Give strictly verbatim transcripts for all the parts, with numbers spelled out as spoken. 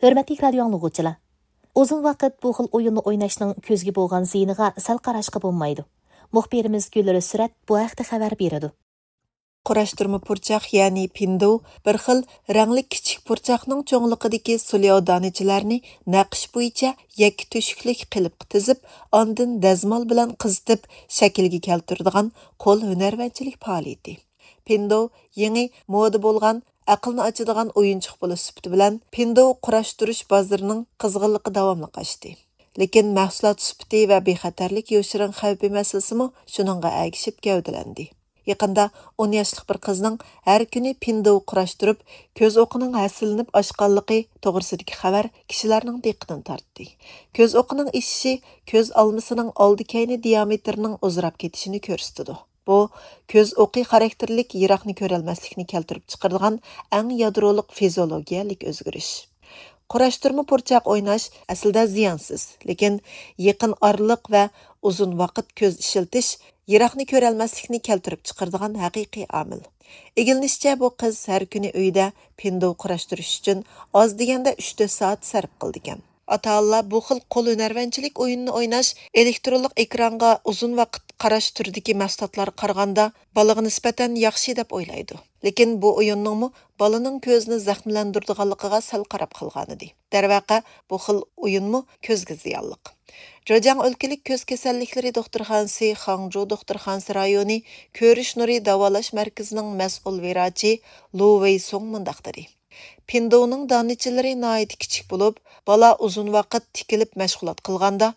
ھۆرمەتلىك رادىيو ئاڭلىغۇچىلار! ئۇزۇن ۋاقىت بۇ خىل ئويۇننى ئويناشنىڭ كۆزگە بولغان زىيىنىغا سەل قاراشقا بولمايدۇ. مۇخبىرىمىز گۈلرۈسرەت بۇ ھەقتە خەۋەر بېرىدۇ. قۇراشتۇرما پۇرچاق، يەنى پىندو، بىر خىل رەڭلىك كىچىك پۇرچاقنىڭ چوڭلۇقىدىكى سۇلياۋ دانىچىلەرنى نەقىش بويىچە يەككە تۆشۈكلۈك قېلىپقا تىزىپ، ئاندىن دەزمال بىلەن قىزىتىپ شەكىلگە كەلتۈرىدىغان قول ھۈنەرۋەنچىلىك پائالىيىتى. پىندو يېڭى مودا بولغان ئەقىلنى ئاچىدىغان ئويۇنچۇق بولۇش سۈپىتى بىلەن پىندو قۇراشتۇرۇش بازىرىنىڭ قىزغىنلىقى داۋاملىق ئاشتى. لېكىن مەھسۇلات سۈپىتى ۋە بىخەتەرلىك يوشۇرۇن خەۋپى مەسىلىسىمۇ شۇنىڭغا ئەگىشىپ گەۋدىلەندى. يېقىندا ئون ياشلىق بىر قىزنىڭ ھەر كۈنى پىندو قۇراشتۇرۇپ، كۆز ئوقىنىڭ ھەسسىلىنىپ ئاشقانلىقى توغرىسىدىكى خەۋەر كىشىلەرنىڭ دىققىتىنى تارتتى. كۆز ئوقىنىڭ ئېشىشى كۆز ئالمىسىنىڭ ئالدى كەينى دىيامېتىرىنىڭ ئۇزىراپ كېتىشىنى كۆرسىتىدۇ. بۇ كۆز ئوقى خاراكتېرلىك يىراقنى كۆرەلمەسلىكنى كەلتۈرۈپ چىقىرىدىغان ئەڭ يادرولۇق فىزىئولوگىيەلىك ئۆزگىرىش. قۇراشتۇرما پۇرچاق ئويناش ئەسلىدە زىيانسىز، لېكىن يېقىن ئارىلىق ۋە ئۇزۇن ۋاقىت كۆز ئىشلىتىش يىراقنى كۆرەلمەسلىكنى كەلتۈرۈپ چىقىرىدىغان ھەقىقىي ئامىل. ئىگىلىنىشىچە، بۇ قىز ھەر كۈنى ئۆيىدە پىندو قۇراشتۇرۇش ئۈچۈن ئاز دېگەندە ئۈچ تۆت سائەت سەرپ قىلىدىكەن. ئاتا-ئانىلار بۇ خىل قول ھۈنەرۋەنچىلىك ئويۇنىنى ئويناش ئېلېكترونلۇق ئېكرانغا ئۇزۇن ۋاقىت قاراش تۈرىدىكى مەھسۇلاتلارغا قارىغاندا بالىغا نىسبەتەن ياخشى دەپ ئويلايدۇ. لېكىن بۇ ئويۇننىڭمۇ بالىنىڭ كۆزىنى زەخىملەندۈرىدىغانلىقىغا سەل قاراپ قالغانىدى. دەرۋەقە، بۇ خىل ئويۇنمۇ كۆزگە زىيانلىق. جېجياڭ ئۆلكىلىك كۆز كېسەللىكلىرى دوختۇرخانىسى، خاڭجۇ دوختۇرخانىسى رايونى كۆرۈش نۇرى داۋالاش مەركىزىنىڭ مەسئۇل ۋىراچى لۇ ۋېيسۇڭ مۇنداق دېدى: پىندونىڭ دانىچىلىرى ناھايىتى كىچىك بولۇپ، بالا ئۇزۇن ۋاقىت تىكىلىپ مەشغۇلات قىلغاندا،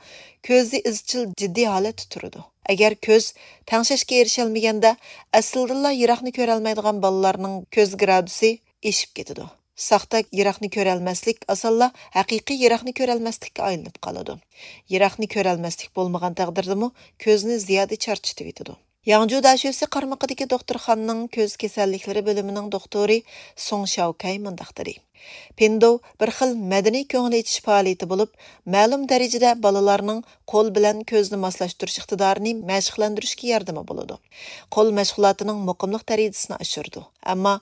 كۆزى ئىزچىل جىددىي ھالەتتە تۇرىدۇ. ئەگەر كۆز تەڭشەشكە ئېرىشەلمىگەندە، ئەسلىدىنلا يىراقنى كۆرەلمەيدىغان بالىلارنىڭ كۆز گرادۇسى ئېشىپ كېتىدۇ. ساختا يىراقنى كۆرەلمەسلىك ئاسانلا ھەقىقىي يىراقنى كۆرەلمەسلىككە ئايلىنىپ قالىدۇ. يىراقنى كۆرەلمەسلىك بولمىغان تەقدىردىمۇ كۆزنى زىيادە چارچىتىۋېتىدۇ. ياڭجۇ داشۆسى قارمىقىدىكى دوختۇرخانىنىڭ كۆز كېسەللىكلىرى بۆلۈمىنىڭ دوختۇرى سۇڭ شياۋكەي مۇنداق دېدى: پىندو بىر خىل مەدەنىي كۆڭۈل ئېچىش پائالىيىتى بولۇپ، مەلۇم دەرىجىدە بالىلارنىڭ قول بىلەن كۆزنى ماسلاشتۇرۇش ئىقتىدارىنى مەشىقلەندۈرۈشكە ياردىمى بولىدۇ. قول مەشغۇلاتىنىڭ مۇقىملىق دەرىجىسىنى ئاشۇرىدۇ. ئەمما